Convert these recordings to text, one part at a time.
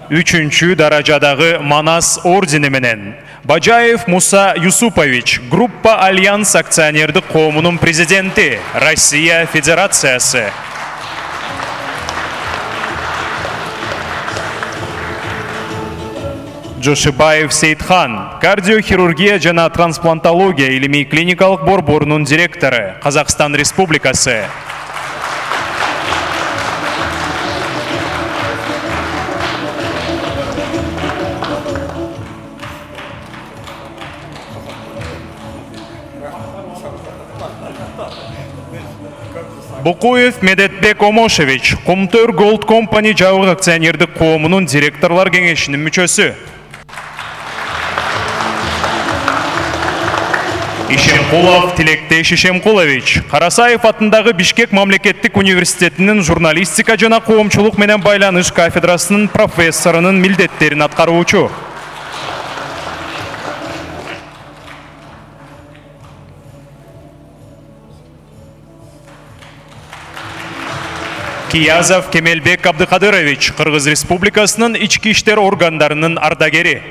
3-чү даражадагы Манас ордени менен Бажаев Муса Юсупович, Группа Альянс акционердик коомунун президенти, Россия Федерациясы. Жошибаев Сейтхан, кардиохирургия жана трансплантология илимий клиникалык борборунун директору, Казакстан Республикасы. Букуев Медетбек Омошевич, Кумтөр Голд Компани жабык акционердик коомунун директорлор кеңешинин мүчөсү. Ишемкулов Тилектеш Ишемкулович, Карасаев атындагы Бишкек мамлекеттик университетинин журналистика жана коомчулук менен байланыш кафедрасынын профессорунун милдеттерин аткаруучу. Киязов Кемелбек Абдыкадырович, Кыргыз Республикасынын ички иштер органдарынын ардагери.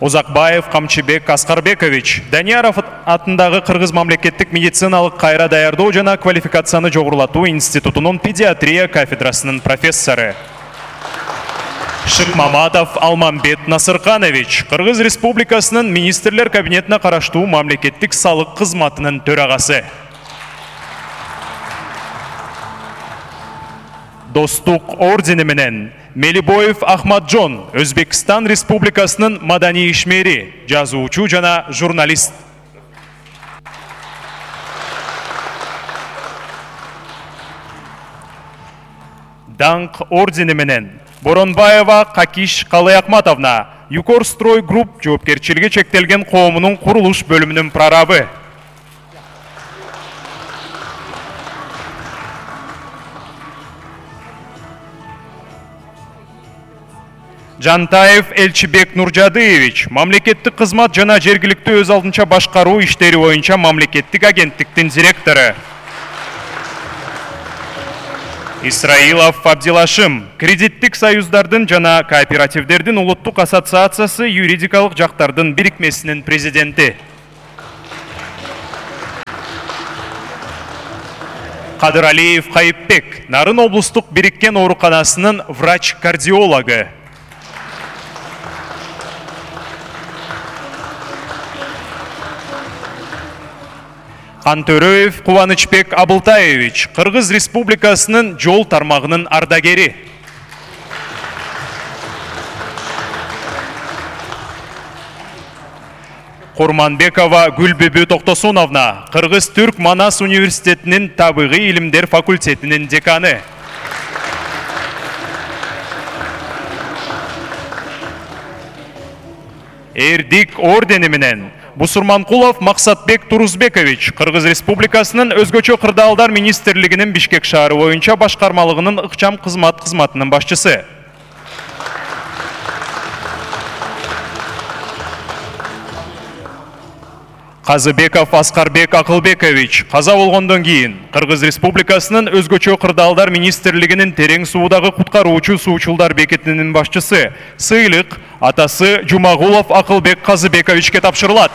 Узакбаев Камчыбек Аскарбекович, Данияров атындагы Кыргыз мамлекеттик медициналык кайра даярдоо жана квалификацияны жогорулатуу институтунун педиатрия кафедрасынын профессору. Шыкмаматов Алмамбет Насырканович, Кыргыз Республикасынын министрлер кабинетине караштуу мамлекеттик салык кызматынын төрагасы. Достук ордени менен Мелибоев Ахмаджон, Өзбекстан Республикасынын маданий ишмери, жазуучу жана журналист. Даңк ордени менен Боронбаева Какиш Калыякматовна, Юкорстрой групп жоопкерчилиги чектелген коомунун курулуш бөлүмүнүн прорабы. Жантаев Элчибек Нуржадыевич, мамлекеттик кызмат жана жергиликтүү өз алдынча башкаруу иштери боюнча мамлекеттик агенттиктин директору. Исраилов Абдилашим, кредиттик союздардын жана кооперативдердин улуттук ассоциациясы юридикалык жактардын бирикмесинин президенти. Кадыралиев Кайыпбек, Нарын облустук бириккен ооруканасынын врач-кардиологу. Кантөрөев Кубанычбек Абылтаевич, Кыргыз Республикасынын жол тармагынын ардагери. Курманбекова Гүлбүбү Токтосуновна, Кыргыз Түрк Манас университетинин табигый илимдер факультетинин деканы. Эрдик ордени менен Бусурманкулов Максатбек Турузбекович, Кыргыз Республикасынын өзгөчө кырдаалдар министрлигинин Бишкек шаары боюнча башкармалыгынын ыкчам кызматынын башчысы. Казыбеков Аскарбек Акылбекович, каза болгондон кийин Кыргыз Республикасынын өзгөчө кырдаалдар министрлигинин терең суудагы куткаруучу суучулдар бекетинин башчысы. Сыйлык атасы Жумагулов Акылбек Казыбековичке тапшырылат.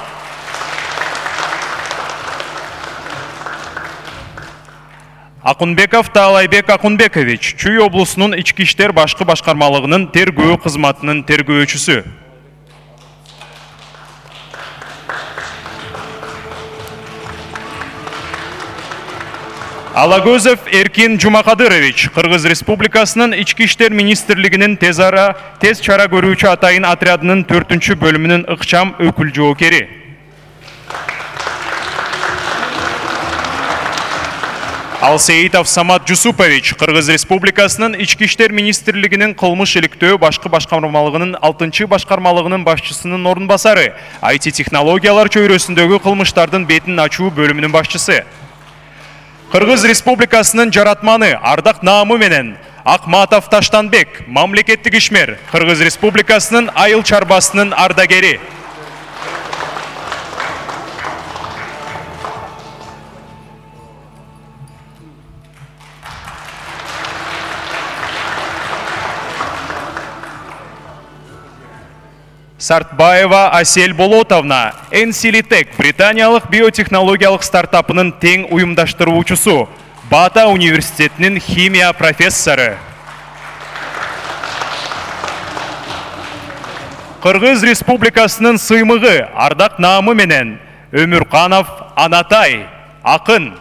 Акунбеков Таалайбек Акунбекович, Чүй облусунун ички иштер башкы башкармалыгынын тергөө кызматынын тергөөчүсү. Алагөзов Эркин Жумакадырович, Кыргыз Республикасынын ички иштер министрлигинин тез чара көрүүчү атайын отрядынын 4-чү бөлүмүнүн ыкчам өкүл жоокери. Алсеитов Самат Жусупович, Кыргыз Республикасынын ички иштер министрлигинин кылмыш иликтөө башкы башкармалыгынын 6-чы башкармалыгынын башчысынын орун басары, IT технологиялар чөйрөсүндөгү кылмыштардын бетин ачуу бөлүмүнүн башчысы. Кыргыз Республикасынын жаратманы Ардак Наамы менен Акматов Таштанбек, мамлекеттик ишмер, Кыргыз Республикасынын айыл чарбасынын ардагери. Сартбаева Асель Болотовна, Энсилитек британиялык биотехнологиялык стартапынын тең уюмдаштыруучусу, Бата университетинин химия профессору. Кыргыз Республикасынын сыймыгы, ардак наамы менен Өмүрканов Анатай, акын.